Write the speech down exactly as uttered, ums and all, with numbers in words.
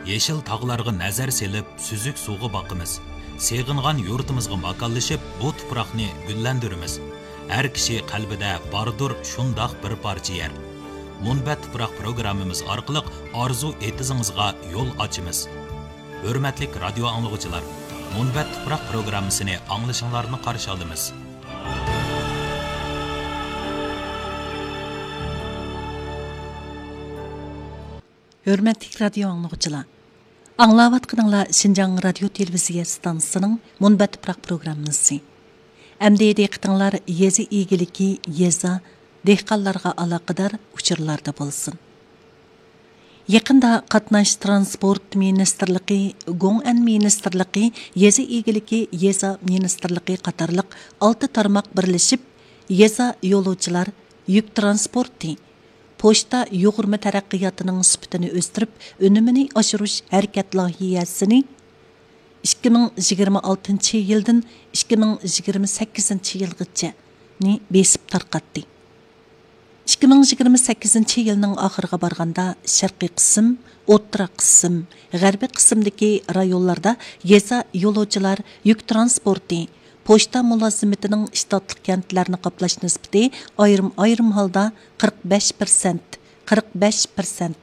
يېشىل تاغلارغا نەزەر سېلىپ، سۈزۈك سۇغا باقىمىز. سېغىنغان يۇرتىمىزغا ماكانلىشىپ، بۇ تۇپراقنى گۈللەندۈرىمىز. ھەر كىشى قەلبىدە باردۇر شۇنداق بىر پارچە يەر. مۇنبەت تۇپراق پروگراممىمىز ئارقىلىق ئارزۇ ئېتىزىڭىزغا يول ئاچىمىز. ھۆرمەتلىك رادىيو ئاڭلىغۇچىلار، مۇنبەت تۇپراق پروگراممىسىنى ئاڭلىشىڭلارنى قارشى ئالىمىز. ھۆرمەتلىك رادىيو ئاڭلىغۇچىلار، ئاڭلاۋاتقىنىڭلار شىنجاڭ رادىيو تېلېۋىزىيە ئىستانسىسىنىڭ مۇنبەت تۇپراق پروگراممىسى. ئەمدى دىققىتىڭلار يېزا ئىگىلىكى، يېزا، دېھقانلارغا ئالاقىدار ئۇچۇرلاردا بولسۇن. يېقىندا قاتناش تىرانسپورت مىنىستىرلىقى، گوڭئەن مىنىستىرلىقى، يېزا ئىگىلىكى، يېزا مىنىستىرلىقى قاتارلىق ئالتە تارماق بىرلىشىپ، يېزا يولۇچىلار يۈك تىرانسپورتى، پوچتا يۇغۇرما تەرەققىياتىنىڭ سۈپىتىنى ئۆستۈرۈپ، ئۈنۈمىنى ئاشۇرۇش ھەرىكەت لايىھەسىنى ئىككى مىڭ يىگىرمە ئالتىنچى يىلدىن ئىككى مىڭ يىگىرمە سەككىزىنچى يىلغىچە نى بېسىپ تارقاتتى. ئىككى مىڭ يىگىرمە سەككىزىنچى يىلنىڭ ئاخىرىغا بارغاندا، شەرقىي قىسىم، ئوتتۇرا قىسىم، غەربىي قىسىمدىكى رايونلاردا يېزا يولۇچىلار يۈك تىرانسپورتى، پوچتا مۇلازىمىتىنىڭ شتاتلىق كەنتلەرنى قاپلاش نىسبىتى ئايرىم-ئايرىم ھالدا قىرىق بەش پىرسەنت، قىرىق بەش پىرسەنت،